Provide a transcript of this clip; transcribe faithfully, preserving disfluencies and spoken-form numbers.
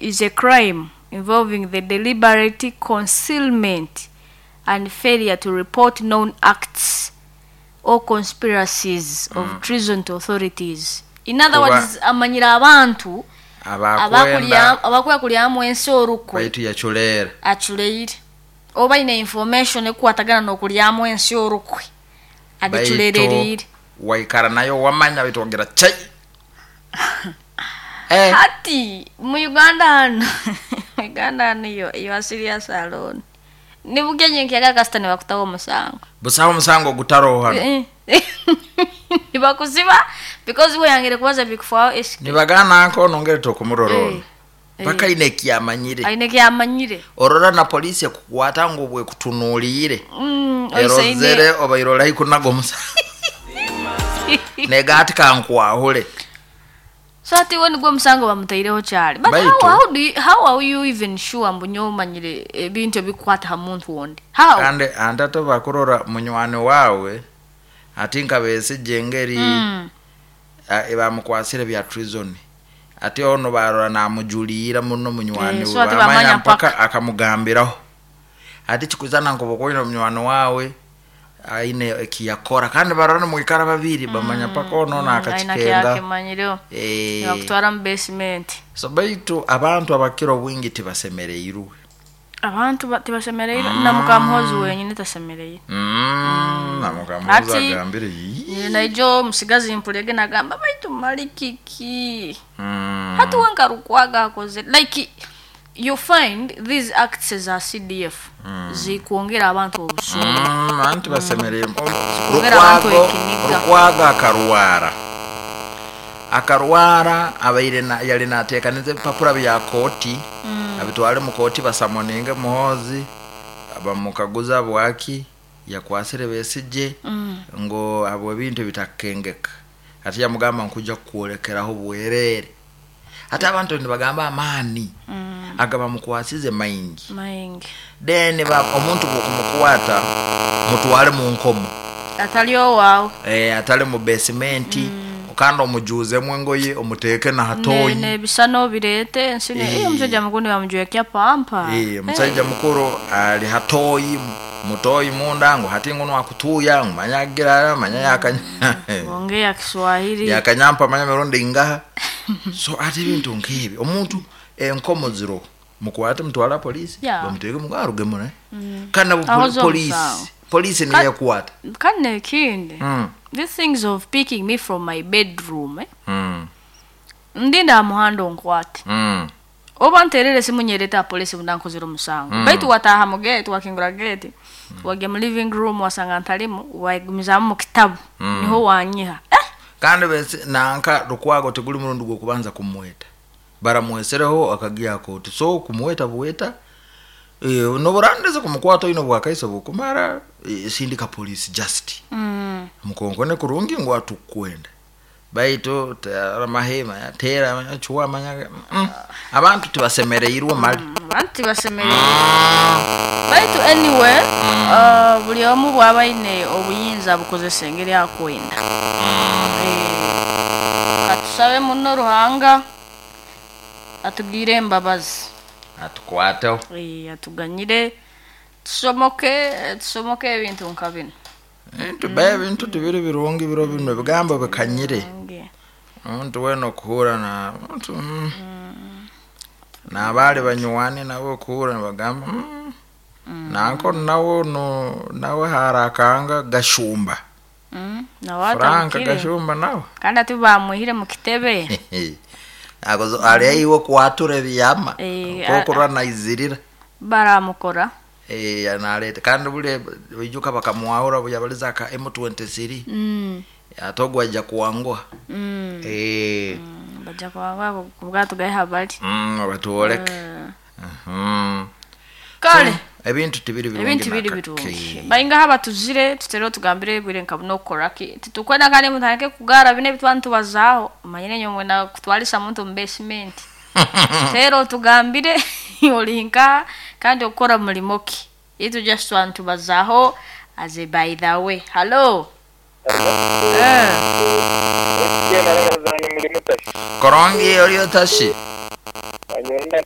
is a crime involving the deliberate concealment and failure to report known acts or conspiracies of treason to authorities. In other Kuba- words, amanyira abantu abakwenda abakuya kulyamu ensi orukwe baitu yaculeera aculeire oba ine information ekukwatagana n'okulyamu ensi orukwe agiculereriire. Waikara nayo wamanya baitu wagira chai. Eh, Hati mu Uganda hano, mu Uganda hano iyo you are serious alone nibugenye nkiyaga kasita nibakutaho omusango. Busaho omusango gutaroho hano. Eh. Nibakuziba because weyangire kubaza bikufaho eski. Nibagana nko nongere tokumurora ono Eh, eh. paka ine ekyamanyire. Aine kyamanyire. Orora na polisi ekukwata ngu bwekutunuliire Mm, oisaine. erozere oba irora ikunaga omusango negati kankwahule. So ati we nigwo omusango bamutaireho kyali, but how, Baitu- how, do you, how are you even sure mbu nyowe omanyire ebintu ebikukwata ha muntu wondi? How? Kandi ante ate bakurora munywani wawe ati nka Besigye engeri Mm. mm. bamukwasire bya treason, ati ono barora namujuliira muno munywani Eh, we, so ati bamanya bamanya mpaka mpaka. akamugambiraho ati kikuzana nkobokoine munywani wawe aine ekiyakora kandi barora nimwikara babiri bamanya mpaka ono aina nakakikenga. kyakimanyireho. Eh, Nibakutwara mu basement. So baitu abantu abakira obwingi tibasemereirwe. Abantu ba- tibasemereire na mukamuhozi wenyine tasemereire. Mm, namukamuhozi Ati- agambire "Yii." Naijo omusigazi mpulege nagamba baitu mali kiki Mm. hati wenka Lukwago akoze, like you find these acts za C D F zikwongera abantu obusungu. Mm, anti basemereire. Zikongera abantu Lukwago ekiniga. Lukwago akarwara akarwara abaire na, yali nateekaniza ebipapura bya kooti abitwale mu kooti basamoninge Muhozi bamukaguza bwaki yakwasire Besigye ngo abo ebintu bitakengeka, ati yamugamba nkuja kukwolekeraho bwerere, ate abantu nibagamba amaani agabamukwasize maingi. Maingi. Then ba, omuntu bwokumukwata mutwale mu nkomo atali owaawe. eh, atali mu basement mm. kandi omujuzemu engoye omuteeke nahatoyi. Nebisano bireete ensi ne- Eh. eh, omusajja mukulu bamujwekya pampa. Eh, omusajja mukuru ali hatoyi mutoyi munda ngu hati nguno akutuya ngu manya agira manya yakanya ongea Kiswahili. Yakanyampa manya mirundi ingaha, so ate ebintu nk'ebyo omuntu enkomo ziro mukwate mutwala polisi Yeah. bamuteeke mugaruge mune kandi nabo Aho poli- zo polisi omusango. polisi Ka- niyo ekwata. Kandi nekindi, Mm. these things of picking me from my bedroom, eh? Mm. Ndinda aha muhanda onkwate Mm. oba nterere esimu nyereta polisi bundankozera omusango mm. Baitu wataha mu gate, wakingura gate, wagya mu living room wasanga ntalimu, wagumizamu mu kitabu mm. niho wanyiha, eh? Kandi bese nanka Lukwago teguli murundi gwokubanza kumweta, baramwesereho akagia koti, so kumweta buweta e, noburandiza kumukwata oine bwakaiso bukumara e, sindika polisi just mm. mukonkone kurungi ngu atukwenda baitu tera mahema tera manya, chuwa manya mm. Abantu tibasemereirwe mali. Abantu tibasemereire, baitu anyway uh, buli omu bwaba aine obuyinza bukozesa engeri akwenda. Eh, katusabe muno Ruhanga atugire embabazi. Atukwateho. Eh, atuganyire tusomoke tusomoke ebintu nka bino. Ebintu ba ebintu tibiri birungi biro bino ebigambo bikanyire. Nge. Omuntu wena okuhura na omuntu mm. N'abaali banywani nabo okuhura nibagamba mm. Nanko nawe no nawe harakanga Gashumba. Mm, nawe Frank atabukire. Gashumba nawe Kandi ati bamwihire mu kitebe. agozo ali iwe kwatura ebyama Eh, kokurwa naizirira. Baramukora. Eh, naleta kandi bule bijuka bakamuwahura buyabaliza aka M twenty-three Mm, ate ogwo ajja kuwangwa. mm. Eh, Mm, bajja kwanga kubwatugaye habali. mm, batuoleke. Mhm. Kale. So, ebintu tibiri birungi. Ebintu biri nakake. birungi baingaho abatuzire tutere tugambire bwire nka buno okukoraki titukwenda kandi mutandike kugara bine ebitwa ntubazaaho manyire nyomwe na kutwalisa muntu mu basement. Tero otugambire oli nka kandi okukora mulimo ki itu just twantubazaaho as a by the way. Hello, eh. Zange mulimu tashi. Korongi oli otashi. Anyenda.